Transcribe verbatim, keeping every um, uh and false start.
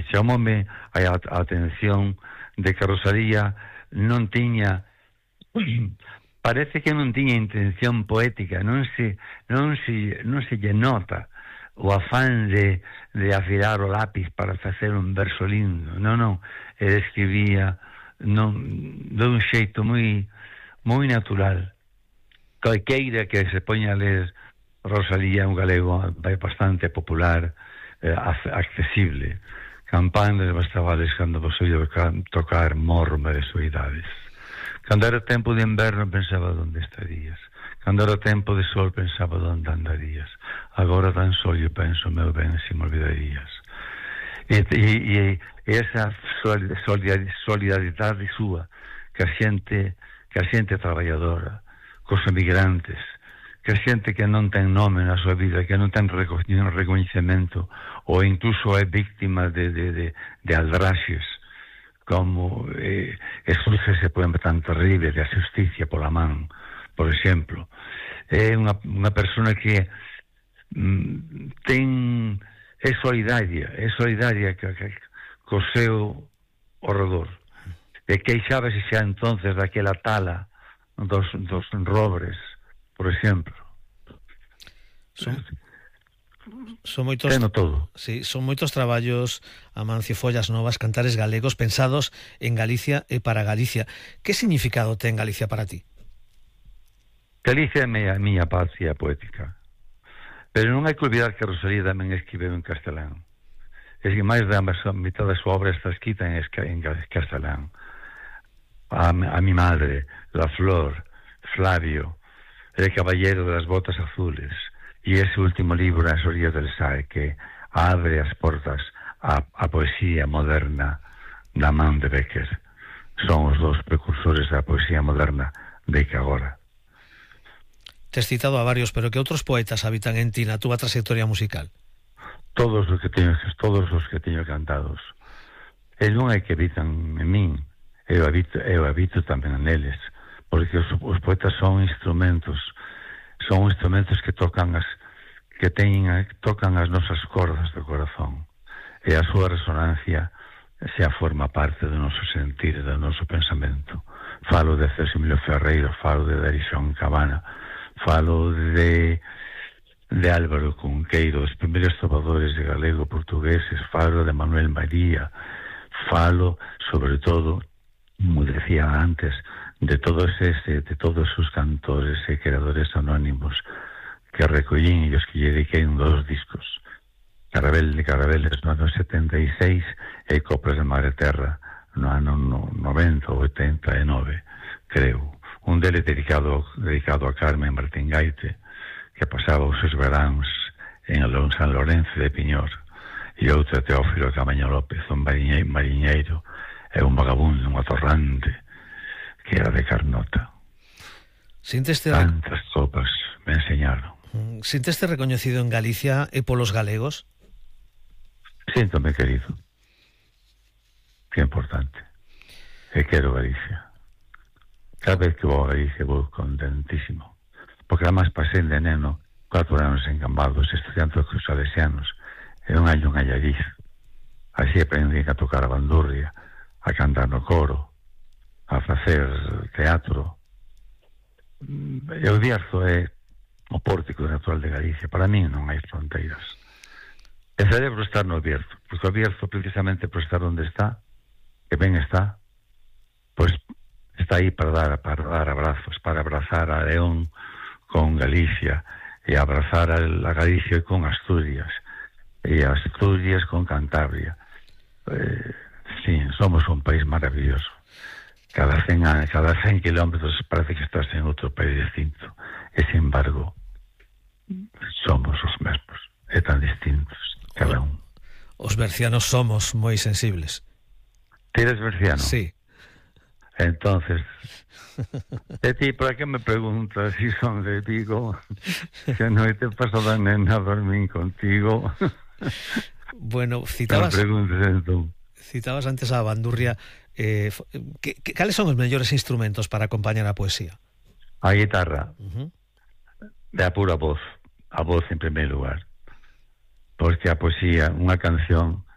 e chamoume a, a atención de que Rosalía non tiña parece que non tiña intención poética, non se non se non se lle nota o afán de, de afilar o lápiz para facer un verso lindo. Non, non, ele escribía non, de un xeito moi moi natural. Calqueira que se poña a ler Rosalía, un galego bastante popular, eh, accesible. Campanas bastavales cando vos oído tocar morma de soidades. Cando era tempo de inverno pensaba onde estarías. Cando era tempo de sol pensaba onde andarías. Agora tan só eu penso, meu ben, se me olvidarías. E, e, e esa solidaridade súa que a xente, que a xente traballadora, cos emigrantes, que a xente que non ten nome na súa vida, que non ten recoñecemento, ou incluso é víctima de, de, de, de aldraxes, como eh, surge ese poema tan terrible de A Xusticia pola man, por exemplo. É unha, unha persona que mm, ten é solidaria, é solidaria que, que, co seu horredor. E queixábase xa entonces daquela tala dos, dos robres, por exemplo. Son, son moitos, todo. Sí, son moitos traballos, Amancio, Follas Novas, cantares galegos pensados en Galicia e para Galicia. Que significado ten Galicia para ti? Galicia é a miña patria poética. Pero non hai que olvidar que Rosalía tamén escribeu en castelán. É que máis da mitad da súa obra está escrita en, en castelán. A, a mi madre, La Flor, Flavio, El caballero de las botas azules, e ese último libro, As orillas del Sae, que abre as portas a, a poesía moderna da man de Becker. Son os dos precursores da poesía moderna de que agora. Te has citado a varios, pero que outros poetas habitan en ti na túa trayectoria musical? Todos os que teño, todos os que teño cantados. E non hai que habitan en min, eu habito, eu habito tamén neles, porque os, os poetas son instrumentos, son instrumentos que tocan as que teñen, tocan as nosas cordas do corazón, e a súa resonancia xa forma parte do noso sentir, do noso pensamento. Falo de César Emilio Ferreiro, falo de Darixón Cabana, falo de de Álvaro Cunqueiro, os primeiros trovadores de galego portugueses, falo de Manuel María, falo, sobre todo, como decía antes, de todos ese, de todos os cantores e creadores anónimos que recollín e os que lle dediquei un dos discos, Carabel de Carabeles no ano setenta e seis e Coplas de Madre Terra no ano noventa ou oitenta e nove, creo. Un deles dedicado, dedicado a Carmen Martín Gaite, que pasaba os seus veráns en San Lorenzo de Piñor, e outro a Teófilo Camaño López, un mariñeiro e un vagabundo, un atorrante, que era de Carnota. Sinteste Tantas copas me enseñaron. Sinteste recoñecido en Galicia e polos galegos? Síntome querido. Que importante. E quero Galicia. Cada vez que vou a Galicia vou contentísimo. Porque además pasei de neno cuatro anos en Cambados estudiando cos salesianos e un año en Allariz. Así aprendi a tocar a bandurria, a cantar no coro, a facer teatro. E o Bierzo é o pórtico natural de Galicia. Para mí non hai fronteiras. E celebro estar no Bierzo, porque o Bierzo precisamente por estar onde está, que ben está, pois está aí para dar, para dar abrazos, para abrazar a León con Galicia, e abrazar a Galicia con Asturias, e a Asturias con Cantabria. Eh, sí, somos un país maravilloso. Cada cen, cada cen kilómetros parece que estás en outro país distinto, e sin embargo somos os mesmos, e tan distintos cada un. Os bercianos somos moi sensibles. Ti eres berciano? Sí. Entonces, de ti, ¿para qué me preguntas si son de Vigo? Que no te paso la nena a dormir contigo. Bueno, citabas, no preguntes, citabas antes a bandurria. Eh, que, que, cales son os mellores instrumentos para acompañar a poesía? A guitarra, uh-huh. de a pura voz, a voz en primeiro lugar, porque a poesía, unha canción